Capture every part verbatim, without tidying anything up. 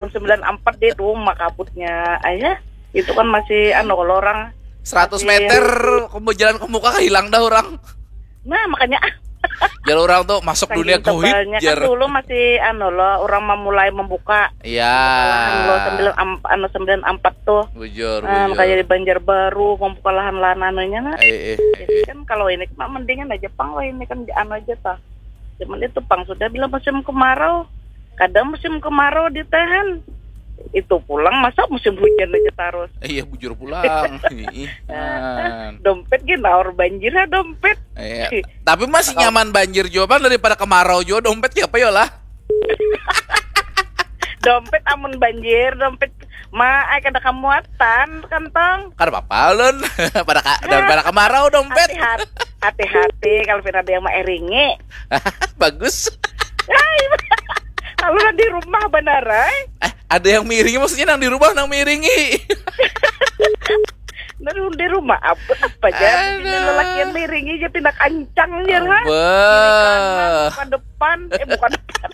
tahun sembilan empat dia tuh makabutnya ayah. Itu kan masih anu kalau orang seratus meter, jalan ke muka hilang dah orang. Nah, makanya jar orang tuh masuk dunia goib jar. Kan dulu masih anu loh, orang memulai membuka. Iya. Lo sembilan empat anu sembilan empat tuh. Bujur. Nah, makanya di Banjarbaru membuka lahan-lahan anunya nah. Eh, eh, eh. Kan kalau ini mah mendingan aja pang, wah ini kan anu aja tah. Cuman itu pang sudah bila musim kemarau, kadang musim kemarau ditahan. Itu pulang masa musim hujan aja terus. Iya, bujur pulang. Dompet gini naur banjir ya dompet. Iya. Tapi masih nyaman banjir juga pang daripada kemarau juga dompet ya apa ya lah. Dompet amun banjir, dompet ma ai kada kamuatan kantong. Kada apa-apa ulun. Pada ka, daripada kemarau dompet. Hati-hati, hati-hati kalau pina ada yang mairingi. Bagus. Kalau di rumah benar ai. Eh, ada yang miringi maksudnya nang di rumah nang miringi. Nah, di rumah apa apa aja. Ini lelaki yang miringi aja pina kancang aja lah. Wah. Ke depan, eh bukan depan.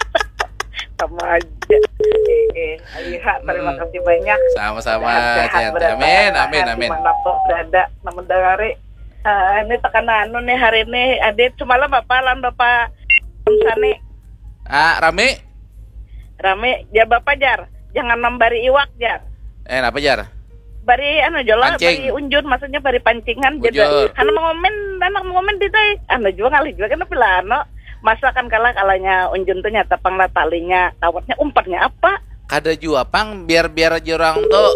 Sama aja. Eh, eh. Ayah, terima kasih banyak. Sama-sama. Sehat-sehat Jen. Berada, Amin, amin, amin. Dimanapun berada, namun dari eh, ini tekan anu nih hari ini. Adit semalam apa lawan bapak Sani? Ah, rame? Rame, ya bapak jar, jangan membari iwak jar. Eh, apa jar? Bari anu jolo, Pancing. Bari unjun, maksudnya bari pancingan. Bujur. Jadi, anak mengomen, anak mengomen di tai. Anu juga ngalih juga kena pila anu. Masa kan kalah kalanya unjun tuh nyata pang lah talinya, kawatnya umpannya apa? Kada jua pang, biar-biar aja orang tuh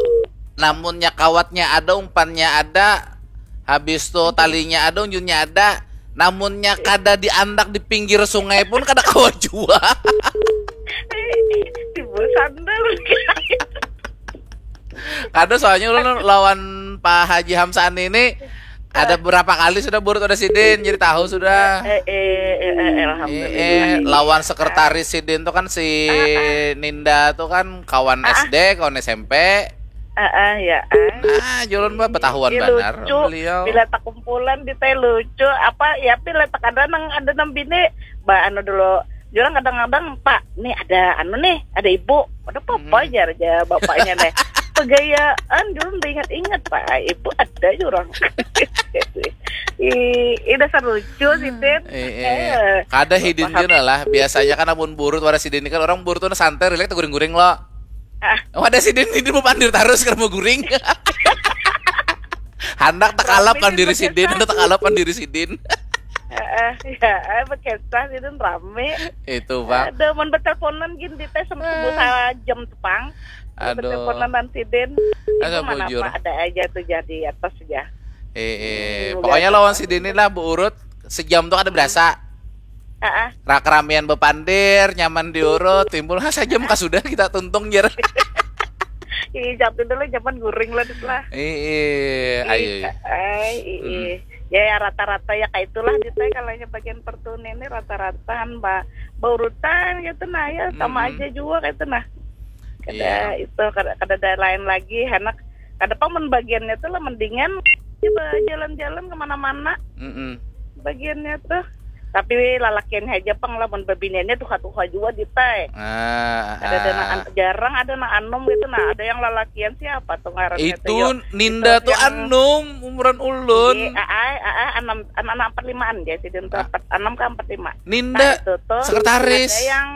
namunnya kawatnya ada, umpannya ada, habis tuh talinya ada, unjunnya ada, namunnya kada diandak di pinggir sungai pun kada kawa jua. Timbul sandal. Kada, soalnya ulun lawan Pak Haji Hamsani ini ada berapa kali sudah burut ada sidin, jadi tahu sudah. Eh, eh, eh, eh, alhamdulillah. Eh, lawan sekretaris sidin tuh kan si Ninda tuh kan kawan S D, kawan S M P. Ah, ah, ya. Ah. Ah, julun bah betahuan Ih, banar lucu. Beliau. Bila tak kumpulan di teh lucu apa ya, bila tak ada nang ada nang bini, ba anu dulu. Jurang kadang-kadang, "Pak, nih ada anu nih, ada ibu." Ada apa Hmm. jar aja bapaknya nih. Pegayaan dulu udah ingat-ingat, Pak. Ibu ada jurang. Ih, ih, dasar lucu sih, Tin. Eh, eh. Kada hidin jua lah. Biasanya kan amun burut wara sidin kan orang burut tuh santai, rilek, guring-guring lo. Ah. Oh, ada sidin ini mau pandir terus kalau mau guring. Handak tekalap Rame pan diri sih, sidin, Bang. Handak tekalap pan diri sidin. Heeh, ya, eh, berkisah sidin rame. Itu, Bang. Ada mun berteleponan gini di tes sama sebut jam tepang. Aduh. Berteleponan sidin. Asa Itu mana bujur. Pak, ada aja tuh jadi atas ya. Eh, eh. Hmm, Pokoknya biasa. Lawan sidin ini lah beurut sejam tuh ada berasa. Heeh. Rak ramian bepandir, nyaman diurut, timbul ha saja muka sudah kita tuntung jer. Ih, jatuh dulu zaman guring lah, Dit, lah. Eh, eh, ayo. Ih, ay, ih, ih. Ya, ya, rata-rata ya kayak itulah, Dit, ya, kalau yang bagian pertuni ini rata-rata kan ba baurutan gitu nah ya, sama Mm-mm. aja juga kayak itu nah. Kada Iya. Itu kada, kada ada lain lagi, enak. Kada pang mun bagiannya tuh lah mendingan coba jalan-jalan kemana-mana Mm-mm. bagiannya tuh. Tapi lalakiannya aja pang lah, mun babiniannya tuha-tuha juga, Dit, ay. Ah, Ada ada ah. na- jarang ada na anom gitu nah. Ada yang lalakian siapa tuh ngarannya Itu tuh, yo? Ninda Itu tuh yang anum umuran ulun. Iya, aai, aai, enam, anak empat limaan dia sidin tuh, Ah. empat, enam ke empat lima. Ninda Nah, itu tuh sekretaris. Ada yang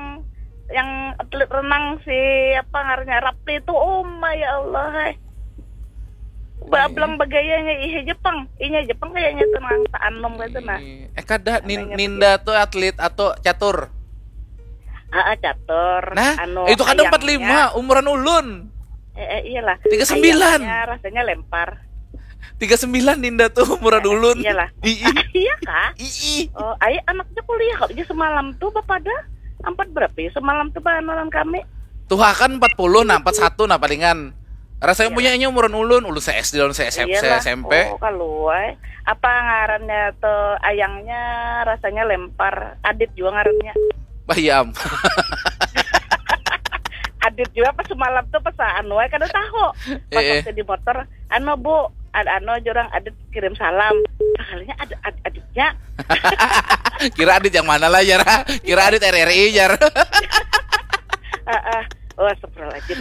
yang atlet renang si apa ngarannya Rapli itu, oh my ya Allah, hai. Bablang bagayanya ih Jepang, inya Jepang kayaknya tuh nang tak anom gitu nah. Eh, kada Nin- Anaknya Ninda tuh atlet atau catur. Ah, ah, catur. Nah, Anu, itu kada ayangnya- empat lima umuran ulun. Eh, eh, iyalah. Tiga sembilan. Ayangnya rasanya lempar. Tiga sembilan Ninda tuh umuran ulun. Iyalah. Ii. Iya kah? Ii. Oh, ayo anaknya kuliah kok. Dia semalam tuh bapak ada empat berapa ya? Semalam tuh bahan kami. Tuha kan empat puluh nah, empat satu nah palingan. Rasanya Iya. Punya ini umuran ulun, ulun se S D, ulun se S M P, se Iyalah. S M P. Oh, kaluai. Apa ngarannya tuh ayangnya rasanya lempar. Adit juga ngarannya. Bayam. Adit juga pas semalam tuh pas anu ae kada tahu. Pas Eh, eh. Waktu di motor, anu Bu, ad anu jurang Adit kirim salam. Kalinya ad, ad, aditnya. Kira Adit yang mana lah, Jar? Kira Adit R R I, Jar. Heeh. Oh, astagfirullahaladzim.